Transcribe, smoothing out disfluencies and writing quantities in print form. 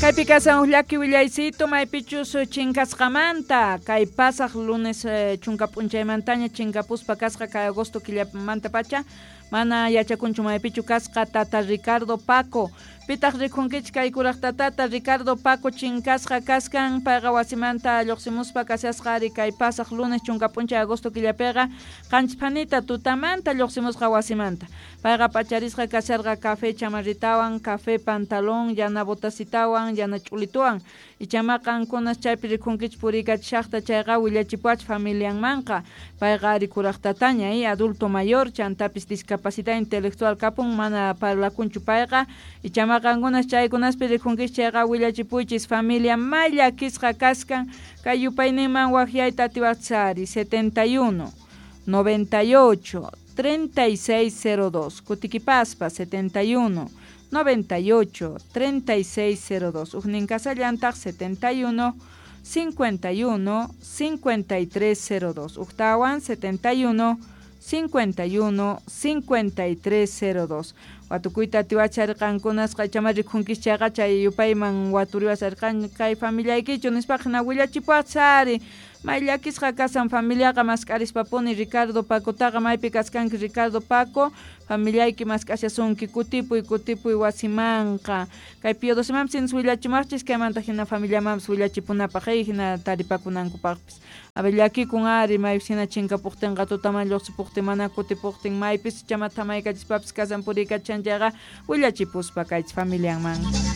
Kaypi kasan huk llaki willaycito maypichus chinkasqamanta kay pasaq lunes chunka p'unchaymantaña chinkapuspa kasqa kay agosto killamantapacha mana yachakunchu maypichu kasqa tata Ricardo Paco. Pitaq rikhunkichik kay kuraq tatata Ricardo Paco chinkasqa kaskan payqa wasimanta lluqsimuspa kashasqa ari kay pasaq lunes chunka p'unchay agosto killapiqa qanchis phanita tutamanta lluqsimusqa wasimanta. Payqa p'acharisqa kasharqa café chamarritawan, café pantalón, yana botasitawan, yana ch'ulituwan. Ichama qankunas chaypi rikhunkichik puriykachishaqta chayqa willachipuwach familianmanqa. Payqa ari kuraq tataña, adulto mayor, chantapis discapacidad intelectual kapun, mana parlakunchu payqa. Ichama qankunas chaykunaspi rikhunkichik chayqa willachipuychis familia may llakisqa kaskan kay yupayninman waqyayta atiwaqchis ari 71 98 3602 kutikipaspa 71 98 3602 ujnin kasallantaq 71 51 5302 ujtawan 71 51 5302 watukuyta atiwacharqankunasqa ichama rikhunkichik chayqa chay yupayman waturiwasharqan kay familiaykichu nispaqa hina willachipuwaqchis ari may llakisqa kasan familiaqa mask'arispapuni Ricardo Pacotaqa maypi kaskanki Ricardo Paco familiayki mask'ashasunki kutipuy kutipuy wasimanqa kay Pío Docemampis sinas willachimaqchis kaymanta hina familiamanpis willachipunapaq hina taripakunankupaqpis a ver llakikun ari maypis hina chinkapuqtinqa tutaman lluqsipuqtin mana kutipuqtin maypis ichama thamaykachispapis kasan puriykachan chayqa willachipuspa kaychis familianman.